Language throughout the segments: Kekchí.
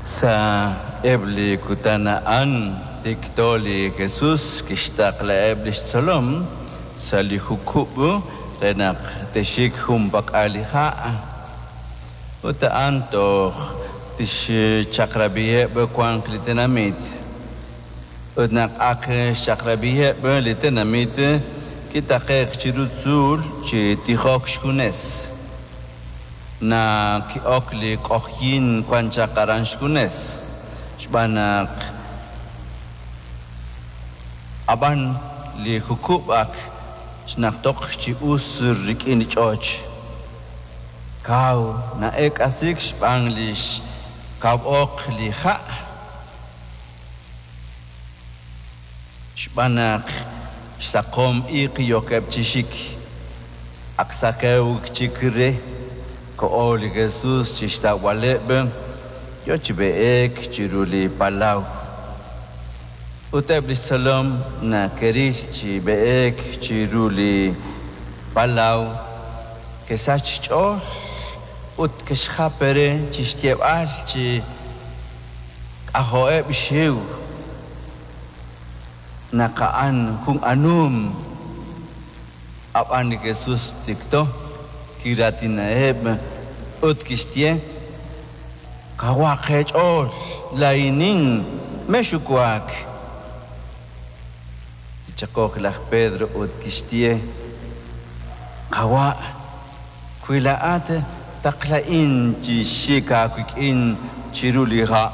Sa' eb' li kutan a'an tikto li Jesus kixtaqlaheb' li xtzolom sa' li jukub' re naq te'xik junpak'al li ha', ut a'an toj tixchaq'rab'iheb' wank li tenamit. Ut naq ak xchaq'rab'iheb' li tenamit, kitaqe'k chiru tzuul chi tijok xjunes. Naq ki'ok li q'oqyink wan chaq aran xjunes, xb'aan naq ab'an li jukub' ak xnaqtoq chi us rik'in li ch'och. Kaw na'eek'asiik xb'aan li xkaw oq li ha'. Xb'aan naq xsaqom iq yookeb' chi xik, ak saqewk chik re, koho li Jesus chi xtawb'aleb', yo chi b'eek chiru li palaw. Ut eb' li xtzolom nake'ril chi b'eek chiru li palaw, ke'sach xch'ool ut ke'xjap re chi xyeeb'al chi k'ajo'eb' xxiw naq a'an jun anum. Ab'an li Jesus tikto kiraatinaheb' ut kixye, Kawaq eech'ool, laa'inin, mexxuwak. Kichaq'ok laj Pedro ut kixye, Qawa', wi laa'at taqla'in chi xik aawik'in chiru li ha'.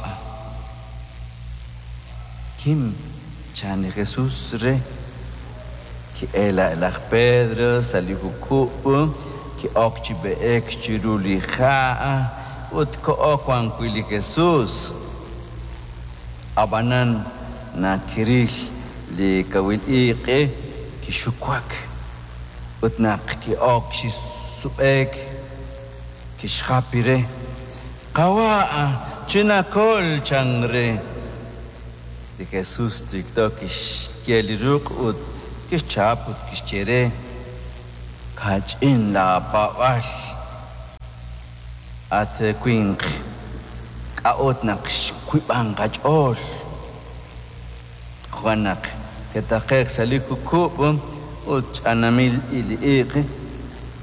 Kim, chan li Jesus re. Ki'elk laj Pedro sa' li jukub', ki'ok chi b'eek chiru li ha' ut koho wan wi' li Jesus. Ab'anan naq kiril li kawil iq', kixuwak, ut naq ki'ok chi sub'e'k, kixjap re, Qawa', chinakol, chan re. Li Jesus tikto kixye li ruq' ut kixchap ut kixye re, Kach'in laapaab'aal, at winq, k'a'ut naq xwiib'ank aach'ool? Jo'kan naq ke'taqe'k sa' li jukub' ut ch'anamil li iq',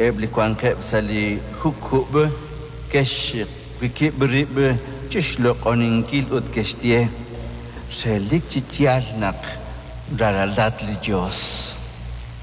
eb' li wankeb' sa' li jukub' ke'xwikib' rib' chi xloq'oninkil ut ke'xye, Relik chi yaal naq ralalat li Yos.